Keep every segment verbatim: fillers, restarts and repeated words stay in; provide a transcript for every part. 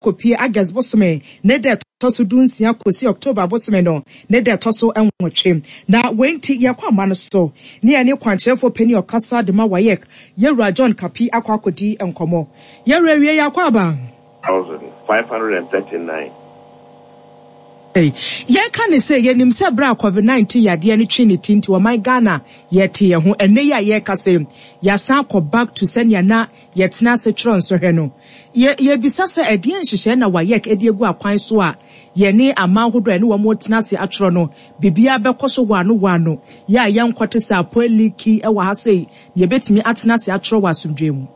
Kɔpie August bosome ne da ɛtɔ so dunsia kɔsi October bosome no ne da ɛtɔ so nwɔtwe. Na wei nti yɛkɔ ama no so ne yɛne kwankyerɛfoɔ panin ɔkasa de ma WAEC, Yɛwura John Kapi, akɔ akɔdi nkɔmmɔ. Yɛwura, wie, yɛakɔ aba. Thousand five hundred and thirty-nine. Yɛka ne sɛ yɛnim sɛ berɛ a COVID nineteen yadeɛ no twe ne ti nti, ɔman Ghana yɛte yɛn ho. Ɛnɛ yi a yɛreka sɛ yɛasan akɔ back to sɛnea na yɛtena ase twerɛ nsɔhwɛ no, yɛ yɛbisa sɛ ɛdeɛ nhyehyɛe na WAEC de agu akwan so a yɛne aman ahodoɔ a ɛne wɔn tena ase atwerɛ no, biribiara bɛkɔ so wɔ ano yɛ a yɛnkɔte sɛ apɔ leak wɔ ha sei na yɛbɛtumi atena ase atwerɛ wɔ asomdwe mu?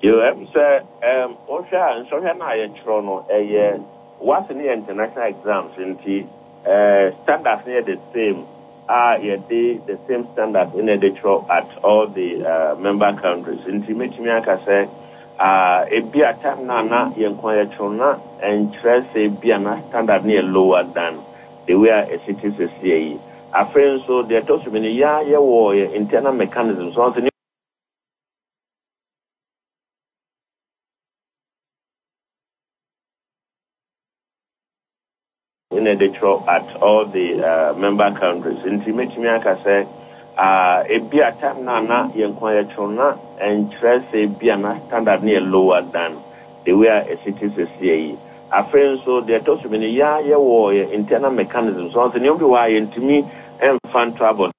Yo, ɛm sɛ ɛm wohwɛ a, nsɔhwɛ no a yɛtwerɛ no, ɛyɛ WASSCE no yɛ international exams, nti ɛɛ standards no yɛ the same a yɛde the same standards ɛna yɛde twerɛ at all the uh, member countries. Nti mɛtumi aka sɛ uh, ebi a time na na yɛn kwan yɛtwerɛ na ɛnkyerɛ sɛ ebi a na standard no yɛ lower than the way a ɛsi te sɛsie yi. Afei nso, deɛ ɛtɔ so bi no, yɛa yɛwɔ yɛ internal mechanism so ɔnso ɛna yɛde twerɛ at all the uh, member countries. Nti mɛtumi aka sɛ uh, ebi a time na na yɛn kwan yɛtwerɛ na ɛnkyerɛ sɛ ebi a na standard no yɛ lower than the way a ɛsi te sɛsie yi. Afei nso, deɛ ɛtɔ so bi no, yɛa yɛwɔ yɛ internal mechanism so ɔnso nneɛma bi wɔ a yɛntumi ɛmfa nto abɔnten.